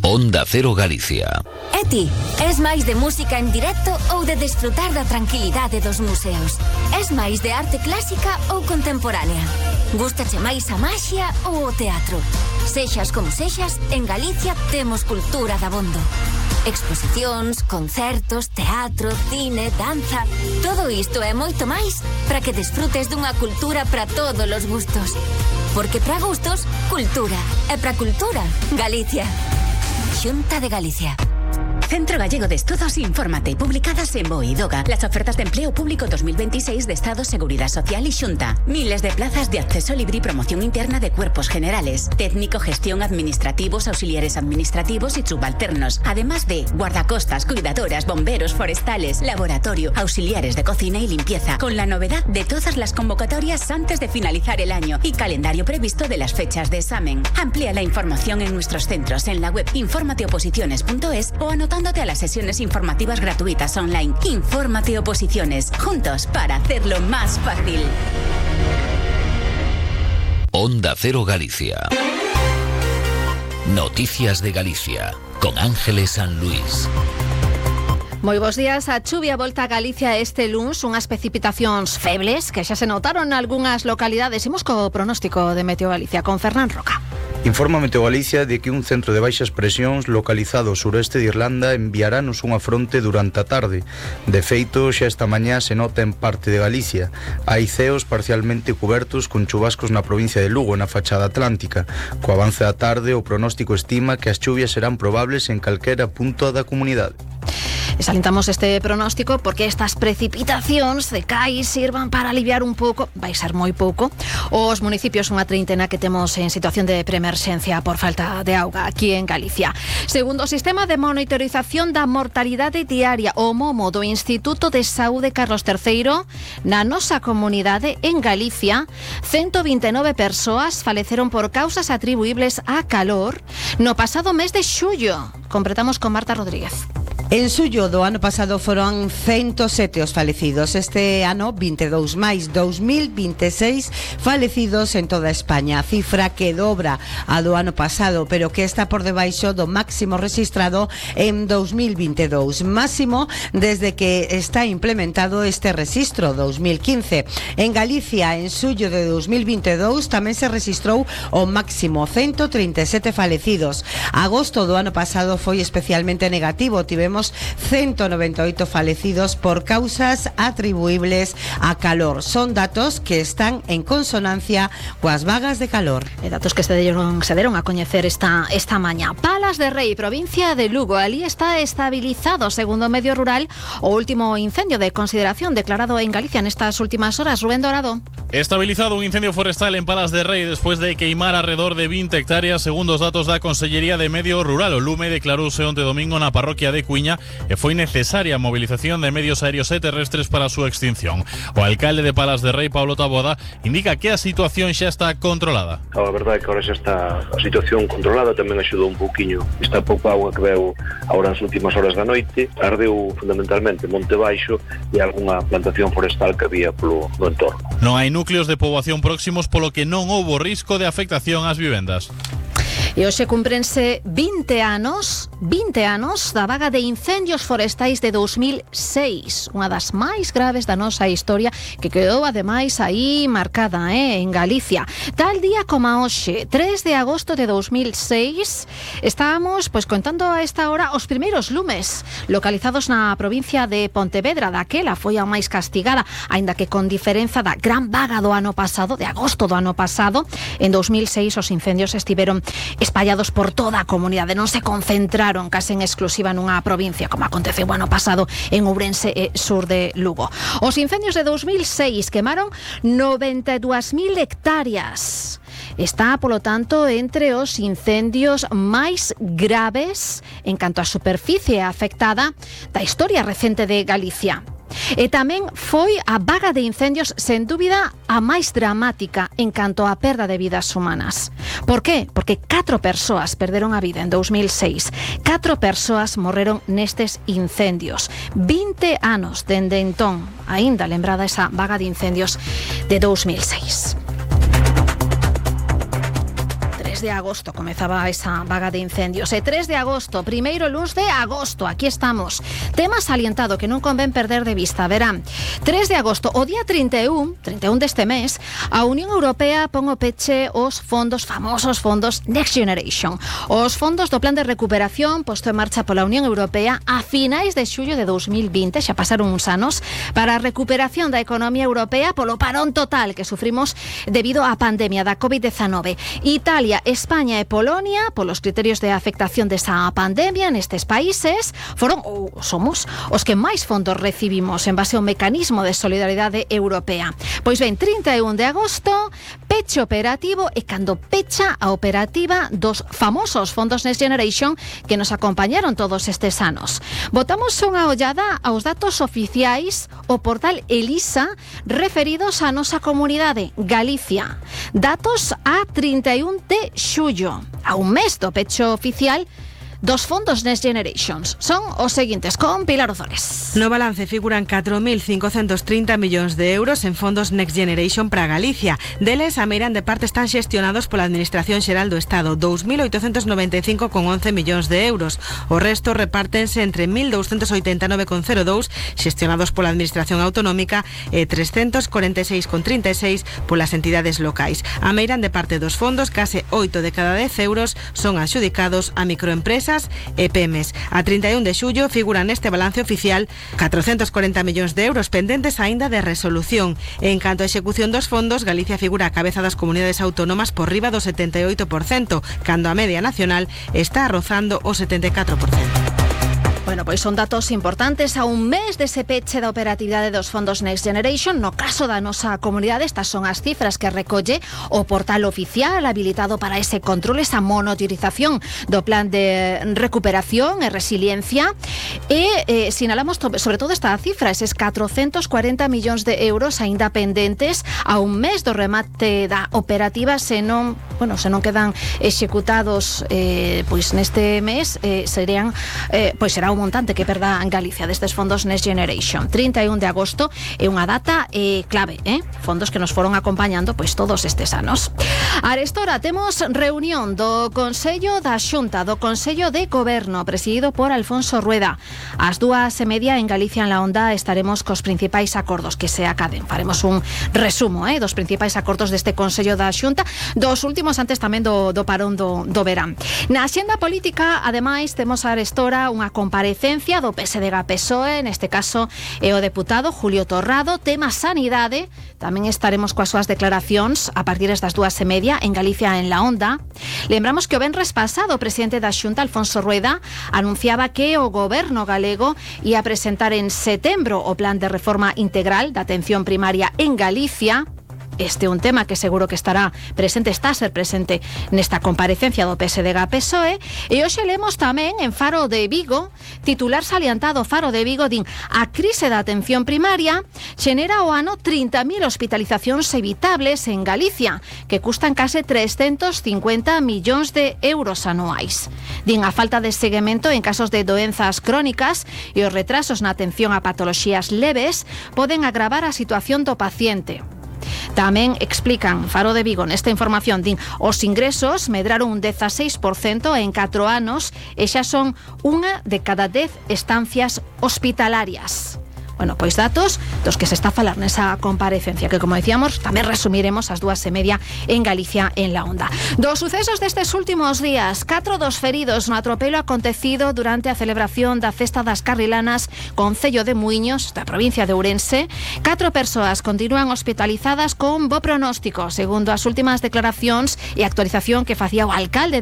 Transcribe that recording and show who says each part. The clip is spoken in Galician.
Speaker 1: Onda Cero Galicia.
Speaker 2: E ti, es máis de música en directo ou de desfrutar da tranquilidade dos museos? Es máis de arte clásica ou contemporánea? Gústache máis a maxia ou o teatro? Sexas como sexas, en Galicia temos cultura dabondo. Exposicións, concertos, teatro, cine, danza... Todo isto e moito máis para que desfrutes dunha cultura para todos os gustos. Porque para gustos, cultura. E para cultura, Galicia. Xunta de Galicia.
Speaker 3: Centro Gallego de Estudos, infórmate. Publicadas en BOE y DOGA. Las ofertas de empleo público 2026 de Estado, Seguridad Social y Xunta. Miles de plazas de acceso libre y promoción interna de cuerpos generales. Técnico, gestión, administrativos, auxiliares administrativos y subalternos. Además de guardacostas, cuidadoras, bomberos, forestales, laboratorio, auxiliares de cocina y limpieza. Con la novedad de todas las convocatorias antes de finalizar el año y calendario previsto de las fechas de examen. Amplía la información en nuestros centros en la web informateoposiciones.es o anotándote a las sesiones informativas gratuitas online. Infórmate Oposiciones, juntos para hacerlo más fácil.
Speaker 1: Onda Cero Galicia. Noticias de Galicia, con Ángeles San Luis.
Speaker 4: Moi bons días. A chuvia volta a Galicia este luns, unhas precipitacións febles que xa se notaron en algunhas localidades. Imos co pronóstico de Meteo Galicia con Fernán Roca.
Speaker 5: Informa Meteo Galicia de que un centro de baixas presións localizado ao suroeste de Irlanda enviarános unha fronte durante a tarde. De feito, xa esta mañá se nota en parte de Galicia. Hai ceos parcialmente cubertos con chubascos na provincia de Lugo, na fachada atlántica. Co avance da tarde, o pronóstico estima que as chuvias serán probables en calquera punto da comunidade.
Speaker 4: Salientamos este pronóstico porque estas precipitacións de cais sirvan para aliviar un pouco, vai ser moi pouco, os municipios, unha treintena que temos en situación de preemerxencia por falta de auga aquí en Galicia. Segundo o sistema de monitorización da mortalidade diaria, o MOMO do Instituto de Saúde Carlos III, na nosa comunidade en Galicia, 129 persoas faleceron por causas atribuibles a calor no pasado mes de xullo. Completamos con Marta Rodríguez.
Speaker 6: En xullo do ano pasado foron 107 os falecidos. Este ano, 22 máis 2026 falecidos en toda España. Cifra que dobra a do ano pasado, pero que está por debaixo do máximo registrado en 2022. Máximo desde que está implementado este rexistro, 2015. En Galicia, en xullo de 2022, tamén se registrou o máximo, 137 falecidos. Agosto do ano pasado foi especialmente negativo. Tivemos 198 falecidos por causas atribuibles a calor. Son datos que están en consonancia coas vagas de calor.
Speaker 4: Datos que se deron a coñecer esta mañá. Palas de Rei, provincia de Lugo. Ali está estabilizado, segundo o medio rural, o último incendio de consideración declarado en Galicia nestas últimas horas. Rubén Dorado.
Speaker 7: Estabilizado un incendio forestal en Palas de Rei despois de queimar alrededor de 20 hectáreas, segundo os datos da Consellería de Medio Rural. O lume declarouse onte domingo na parroquia de Cuiña e foi necesaria a movilización de medios aéreos e terrestres para a súa extinción. O alcalde de Palas de Rei, Pablo Taboada, indica que a situación xa está controlada.
Speaker 8: A verdade é que agora xa está a situación controlada, tamén axudou un pouquiño esta pouca agua que veu agora nas últimas horas da noite. Ardeu fundamentalmente Monte Baixo e algunha plantación forestal que había polo entorno.
Speaker 7: Non hai núcleos de poboación próximos, polo que non houbo risco de afectación ás vivendas.
Speaker 4: E hoxe cumprense 20 anos da vaga de incendios forestais de 2006, unha das máis graves da nosa historia, que quedou ademais aí marcada en Galicia. Tal día como hoxe, 3 de agosto de 2006, estábamos contando a esta hora os primeiros lumes localizados na provincia de Pontevedra. Daquela foi a máis castigada, aínda que con diferenza da gran vaga do ano pasado, de agosto do ano pasado. En 2006 os incendios estiveron espallados por toda a comunidade, non se concentraron case en exclusiva nunha provincia, como aconteceu o ano pasado en Ourense e sur de Lugo. Os incendios de 2006 quemaron 92.000 hectáreas. Está, polo tanto, entre os incendios máis graves en canto á superficie afectada da historia recente de Galicia. E tamén foi a vaga de incendios, sen dúbida, a máis dramática en canto á perda de vidas humanas. Por qué? Porque 4 persoas perderon a vida en 2006. 4 persoas morreron nestes incendios. 20 anos dende entón, aínda lembrada esa vaga de incendios de 2006. de agosto comezaba esa vaga de incendios. 3 de agosto, primeiro luns de agosto, aquí estamos. Tema salientado que non convén perder de vista, verán. 3 de agosto, o día 31 deste mes, a Unión Europea pon o peche os famosos fondos Next Generation. Os fondos do plan de recuperación posto en marcha pola Unión Europea a finais de xullo de 2020, xa pasaron uns anos, para a recuperación da economía europea polo parón total que sufrimos debido á pandemia da COVID-19. Italia, España e Polonia, polos criterios de afectación desa pandemia nestes países, foron ou somos os que máis fondos recibimos en base ao mecanismo de solidaridade europea. Pois ben, 31 de agosto, peche operativo e cando pecha a operativa dos famosos fondos Next Generation que nos acompañaron todos estes anos. Botamos unha ollada aos datos oficiais o portal Elisa referidos á nosa comunidade, Galicia. Datos a 31 de xullo, a un mes do pecho oficial dos fondos Next Generations. Son os seguintes, con Pilar Ozores.
Speaker 9: No balance figuran 4.530 millóns de euros en fondos Next Generation para Galicia. Deles, a meirande parte están xestionados pola Administración Xeral do Estado, 2.895,11 millóns de euros. O resto repártense entre 1.289,02 xestionados pola Administración Autonómica e 346,36 polas entidades locais. A meirande parte dos fondos, case 8 de cada 10 euros, son adxudicados a microempresas e PEMES. A 31 de xullo figuran neste balance oficial 440 millóns de euros pendentes aínda de resolución. En canto a execución dos fondos, Galicia figura a cabeza das comunidades autónomas por riba do 78%, cando a media nacional está rozando o 74%.
Speaker 4: Bueno, pois son datos importantes a un mes dese peche da operatividade dos fondos Next Generation. No caso da nosa comunidade, estas son as cifras que recolle o portal oficial habilitado para ese control, esa monitorización do plan de recuperación e resiliencia. E sinalamos sobre todo esta cifra, eses 440 millóns de euros aínda pendentes a un mes do remate da operativa, se non quedan executados pois neste mes, será un montante que perda en Galicia destes fondos Next Generation. 31 de agosto é unha data clave, fondos que nos foron acompañando pois todos estes anos. Arestora temos reunión do Consello da Xunta, do Consello de Goberno, presidido por Alfonso Rueda. Ás 2:30 en Galicia en la Onda estaremos cos principais acordos que se acaden. Faremos un resumo dos principais acordos deste Consello da Xunta, dos últimos antes tamén do parón do verán. Na axenda política, ademais, temos arestora unha comparecencia do PSDG-PSOE, neste caso é o deputado Julio Torrado, tema sanidade. Tamén estaremos coas súas declaracións a partir das 2:30 en Galicia en la Onda. Lembramos que o venres pasado o presidente da Xunta, Alfonso Rueda, anunciaba que o goberno galego ia presentar en setembro o plan de reforma integral da atención primaria en Galicia. Este é un tema que seguro que está a ser presente nesta comparecencia do PSDG-PSOE. E hoxe lemos tamén en Faro de Vigo, titular salientado Faro de Vigo, din: a crise da atención primaria xenera ao ano 30.000 hospitalizacións evitables en Galicia, que custan case 350 millóns de euros anuais. Din: a falta de seguimento en casos de doenzas crónicas e os retrasos na atención a patoloxías leves poden agravar a situación do paciente. Tamén explican Faro de Vigo nesta información, din: os ingresos medraron un 16% en 4 anos e xa son unha de cada 10 estancias hospitalarias. Bueno, pois datos dos que se está a falar nesa comparecencia, que, como decíamos, tamén resumiremos ás 2:30 en Galicia en la Onda. Dos sucesos destes últimos días: 4 dos feridos no atropelo acontecido durante a celebración da Festa das Carrilanas Concello de Muiños, da provincia de Ourense. 4 persoas continúan hospitalizadas con bo pronóstico, segundo as últimas declaracións e actualización que facía o alcalde de